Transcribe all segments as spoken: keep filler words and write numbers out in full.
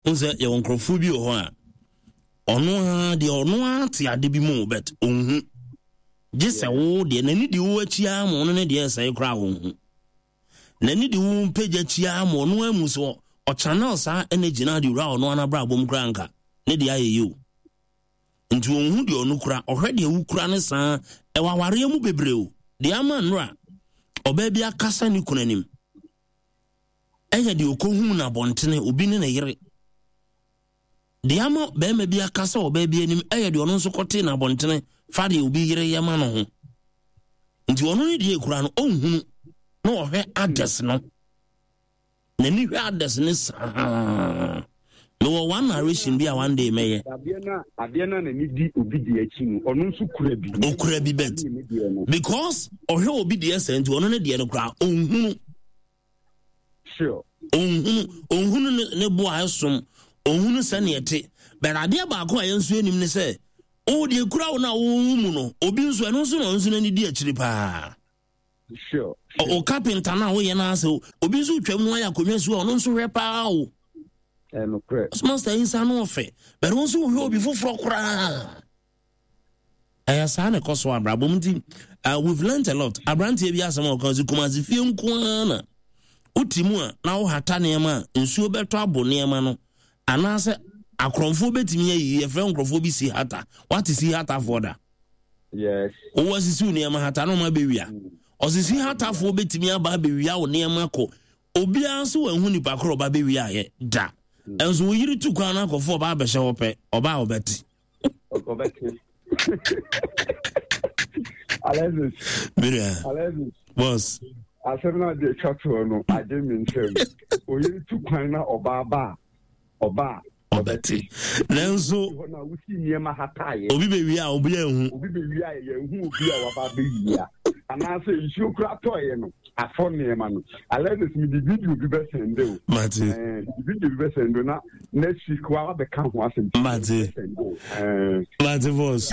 N sɛ yɛwɔ nkurɔfoɔ bi wɔ hɔ a, ɔno ara deɛ, ɔno ara te ade bi mu, but ɔnhu, gye sɛ wo deɛ n'ani di wo akyi ara ma ɔno ne deɛ ɛsɛe koraa ɔnhu. N'ani di wo mpagya akyi ara ma ɔno amu so ɔchannel saa energy no ade wura ɔno ara n'abrabɔ mu koraa, nka ne deɛ ayɛ yie o. Nti ɔnhu deɛ ɔno kura, ɔhwɛ deɛ wokura ne saa. Ɛwɔ awareɛ mu bebree o. Deɛ ama nnora ɔbaa bi akasa ne kunu anim ɛyɛ deɛ ɔkɔhuu no abɔntene, obi ne ne yere. Deɛ ama bɛrima bi akasa ɔbaa bi anim ɛyɛ deɛ ɔno nso kɔtee no abɔntene fa deɛ obi yere yɛ ma no ho. Nti ɔno ne deɛ ekura no ɔnhunu, na ɔhwɛ others no, n'ani hwɛ others ne saa. Mewɔ one narration bi a one day mɛyɛ. Adeɛ na adeɛ na n'ani di obi di akyi no, ɔno nso kura bi. Okura bi, but because ɔhwɛ obi deɛ sɛ, nti ɔno ne deɛ no koraa ɔnhunu. Sure. Ɔnhunu, ɔnhunu ne ne bo a ɛsom, ɔnhunu sɛneɛ te. But adeɛ baako a yɛn nso anim ne sɛ, wo deɛ kura wo no a wowo mu no, obi nso ɛno nso na ɔno nso n'ani di akyiri paa. Sure. O carpenter no a woyɛ no asɛ, obi nso twam no ayɛ akonnwa si hɔ, ɔno nso hwɛ paa o. Ɛnokorɛ. Master yi nsa no ɔfɛ, but wo nso wohwɛ obi foforɔ koraa. Ɛyɛ saa na ɛkɔ so abrabɔ mu. Nti uh, we've learnt a lot. Aberanteɛ bi asɛm a ɔka sɛ Kumase fie nko ara na wote mu a na wohata nneɛma a, nsuo bɛtɔ abo nneɛma no, anaasɛ akorɔmfoɔ bɛtumi ayiyi. Yɛfrɛ nkurɔfoɔ bi si hata. Wate si hatafoɔ da? Yes. Wowɔ asisi wo nneɛma hata na ɔma bɛwia. Ɔsisi hatafoɔ bɛtumi aba abɛwia wo nneɛma kɔ. Obiara nso wanhu nipa korɔ ɔba bɛwia ayɛ da. Ɛnso wo yere tu kwan no akɔfo, ɔba abɛhyɛ hɔ pɛ, ɔba a ɔbɛte. Ɔbɛte. Alexis. Miria. Alexis. Boss. Asɛm no ade atwa toɔ no agye me nsɛm. Oyere tu kwan na ɔbaa ba a, ɔba a ɔbɛte. Nanso hɔ na wosi nneɛma hataeɛ. Obi bɛwia a, obi anhu. Obi bɛwia a, yɛnhu obi a waba abɛwia. Anaasɛ nsuo kora tɔeɛ no afɔ nneɛma no. Alexis, mede video bi bɛsɛnde o. Mate. Ɛɛ, mede video bi bɛsɛnde o na next week wa wabɛka ho asɛm. Mate. Ɛɛ. Mate, boss.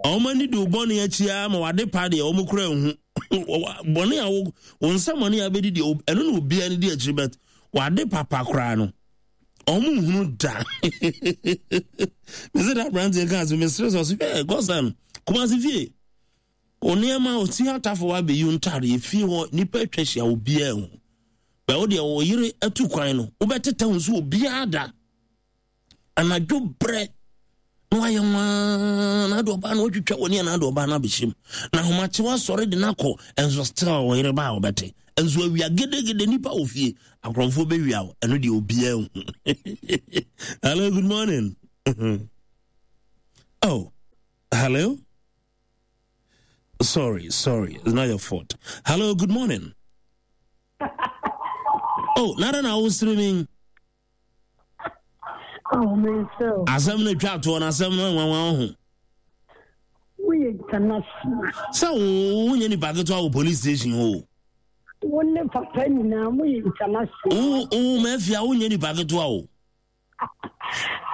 Ɔmo ani de wo bɔne akyi ara ma wade pa deɛ ɔmo kura nhu. Bɔne a wo wo nsa bɔne a bɛdi deɛ, ɛno na obiara ne di akyiri, but wade papa koraa no, ɔmo nhunu da. Mese da aberanteɛ kaa so, mesere sɛ ɔse hwɛ gɔsan Kumase fie o, nneɛma osi atafo wa abɛyi ntaare efie hɔ, nipa atwa ahyia, obiara ho bɛ. Wo deɛ, wo yere atu kwan no, wobɛteta ho so obiara da anadwo brɛ na wayɛ nwaa na ade ɔbaa no watwitwa w'ani anaa ade ɔbaa no abɛhyɛ mu na ahomakye wasɔre de no akɔ. Ɛnso still ɔyere ba a wɔbɛte. Ɛnso awia gedegede nipa wɔ fie, akorɔmfoɔ bɛwia wo, ɛno deɛ obiara hu. Hello, good morning. Oh, hello. Sorry, sorry, it's not your fault. Hello, good morning. Oh, nada na wosere me. Oh, me so. Asɛm no twa toɔ no, asɛm no nwanwa ho. Woyɛ international. Sɛ wo wonyɛ nipa ketewa wɔ police station hɔ o. Wo ne papa nyinaa moyɛ international. Wo wo mafia, wonyɛ nipa ketewa o.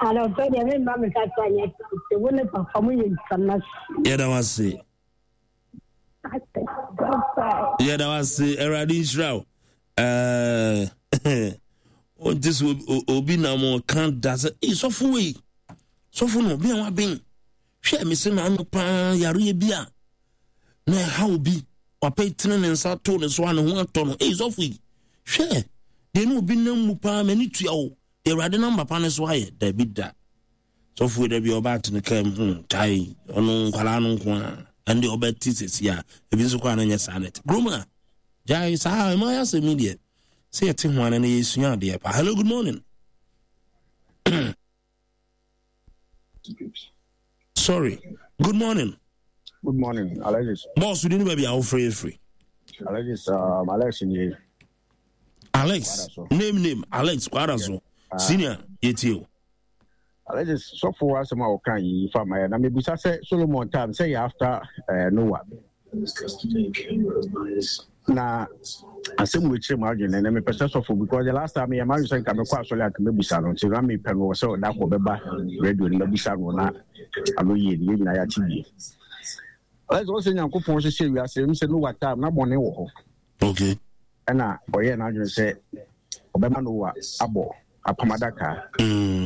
Anɔpɛ deɛ, memma me kasa nyɛ tete. Wo ne papa moyɛ international. Yɛda wo ase. Yɛda wo ase. Awurade nhyira wo. Ɛɛ, ɔnte sɛ obi nam ɔka da sɛ ei, sɔfo wei, sɔfo no obi a waben. Hwɛ, me se naano paa, yareɛ bi a na ɛha obi, wapɛ tene ne nsa to ne so a, ne ho atɔ no. Ei, sɔfo yi, hwɛ deɛ ne obi nam mu paa, m'ani tua o. Deɛ Awurade nam papa ne so ayɛ, dabi da, sɔfo yi da bi ɔba atene kaa mu hmm, tae ɔno nkwalaa no nko a, ɛnde ɔbɛte sɛsi a ebi nso kɔ a, na nyɛ saa net kurom a gyae saa. Ɛma ayɛ asɛm yi deɛ sɛ yɛte ho ana na yɛsua adeɛ pa. Hello, good morning. Sorry, good morning. Good morning, Alexis. Boss, di ne baabi a wofrɛ firi. Alexis, um, Alex nie. Alex, name name Alex Kwara so. Senior, yɛtie o. Alexis, sɔfo asɛm a wɔka yi fa ma yɛ na mebusa sɛ Solomon time sɛ yɛ after uh, Noah na asɛm wɔ akyire mu adwene na mepɛ sɛ sɔfo, because the last time yɛ ma sɛ nka mekɔ asɔre anka mɛbusa no, nti na mepɛ no wɔ sɛ ɔda kɔ bɛba radio no mɛbusa no na ano yie no yɛn nyinaa yɛate bie. Alexis, wɔ sɛ Nyankopɔn hyehyɛ wiase m sɛ Noah time na bɔne wɔ hɔ. Okay ɛna ɔyɛɛ n'adwene sɛ ɔbɛma Noah abɔ Apam adaka. Mm.